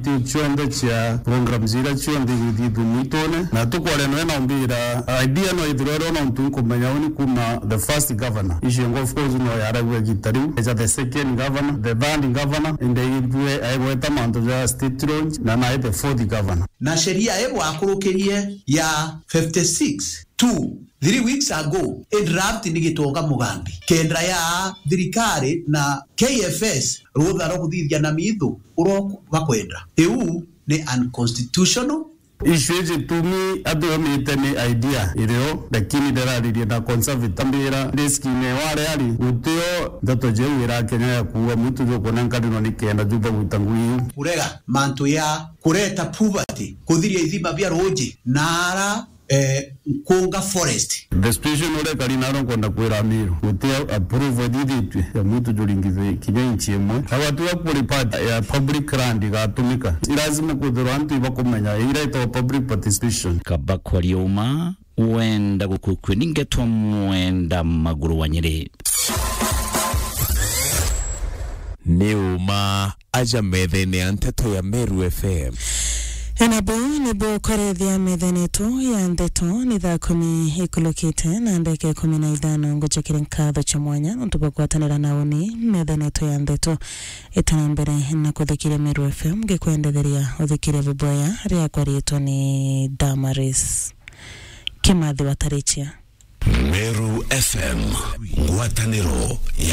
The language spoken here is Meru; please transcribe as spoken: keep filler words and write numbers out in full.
Cionthe cia programs iria cionthe igithithua mwitune, na tukwaria nawe na umbira idea no ithirwe ro nontu nkumenya uni kuma the first governor. Icio ngo of course no yaragua gita riu. Eja the second governor, the third governor, inde igithue aigweta mantu ja state launch, na nae the fourth governor. Na sheria ii bwakurukirie ya fifty six two, three weeks ago, i draft ni Gitonga Mugambi, kenda ya thirikari na K F S rutha rwa kuthithia na mithu uria bakwenda. Iu ni unconstitutional. Issue iji tumi atumite ni idea irio, lakini ndiraririe na conservative mbira riskine ware ari gutio ndeto jeu irakenya ya kuuga mwitu jukuona nkarino ni kenda jubaguta ngui iu. Kurega mantu ya kureta poverty, kuthiria ithima bia ruuji na ara eh, Nkunga Forest. The situation uria ikari naro nkwenda kwira Amiru, guti approval ithithitue ya mwitu juringithwe kinya inchi imwe. Agwatiga kuri part ya public land igatumika. Ni lazima kwithirwa antu ibakumenya iria itagwa public participation. Kaba kwaria uma, wenda gukukue ni ngetwa mwenda maguru wa Nyeri. Ni uma aja methene ya nteto ya Meru F M. Enabo nibo kwarethia methene yetu ya ndeto ni thaa kumi ikulukite na ndeka ikumi na ithano. Ngucokere nkatho cia mwanya nontu bwa gwatanira na uni methene yetu ya ndeto. Itana mbere na kuthikiria Meru F M, ngikwendetheria uthikirie buboya riakwa riitwa ni Damaris Kimathi wa Tarichia. Meru F M, ngwataniro ya